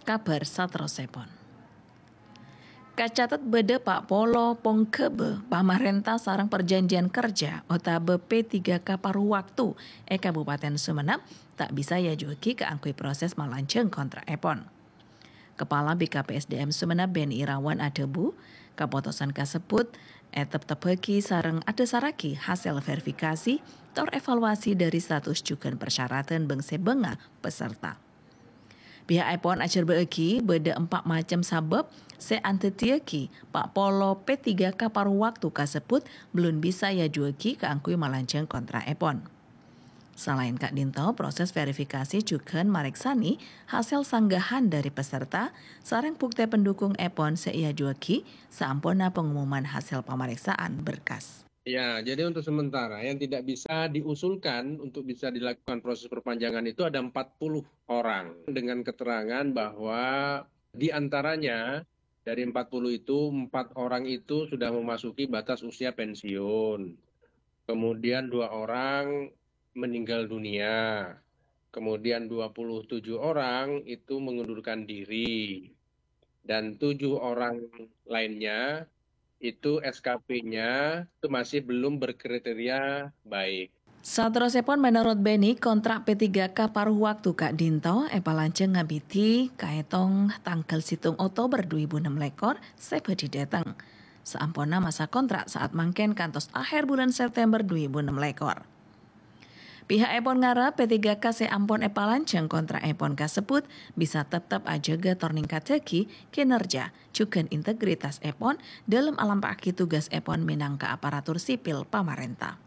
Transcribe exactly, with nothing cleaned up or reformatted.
Kabhâr saterrossèpon. Kacatet bâdâ pa' polo pongghâbâ pamarènta sareng parjhânjhiyân kerja otabâ P tiga K paruh waktu è Kabupaten Sumenep ta' bisa èajuwâghi kaangghuy proses malanjhâng kontra'èpon. Kepala B K P S D M Sumenep Beni Irawan adhâbu, kapotosan kasebbhut èteptebbhâghi sareng adhâsarraghi hasèl verifikasi tor evaluasi dhâri status jhughân parsyaratan bâng-sèbângnga peserta. Pihakèpon ajhârbâ'âghi bâdâ empa' macem sabâb sè andhâddhiyâghi pa' polo P tiga K paruh waktu kasebbhut bellun bisa èajuwâghi kaangghuy malanjhâng kontra'èpon. Salaèn ka'dinto, proses verifikasi jhughân marèksanè hasèl sanggahan dhâri peserta sareng buktè pendukungèpon sè èajuwâghi saamponna pengumuman hasèl pamarèksaan berkas. Ya, jadi untuk sementara yang tidak bisa diusulkan untuk bisa dilakukan proses perpanjangan itu ada empat puluh orang dengan keterangan bahwa di antaranya dari empat puluh itu, empat orang itu sudah memasuki batas usia pensiun. Kemudian dua orang meninggal dunia. Kemudian dua puluh tujuh orang itu mengundurkan diri. Dan tujuh orang lainnya itu S K P-nya itu masih belum berkriteria baik. Saterrossèpon, menurut Beni, kontra' P tiga K paruh waktu ka'dinto èpalanjhâng ngabidhi kaètong tangghâl sèttong Oktober dhu èbu ennem lèkor sè bhâdhi dâteng. Saamponna masa kontra' saat mangkèn kantos ahèr bulân September dhu èbu ennem lèkor. Pihakèpon ngarep P tiga K sè ampon èpalanjhâng kontra'èpon kasebbhut bisa teptep ajâgâ tor ningkaddhâghi kinerja jhughân integritasèpon dhâlem alampa'aghi tugasèpon mènangka aparatur sipil pamarènta.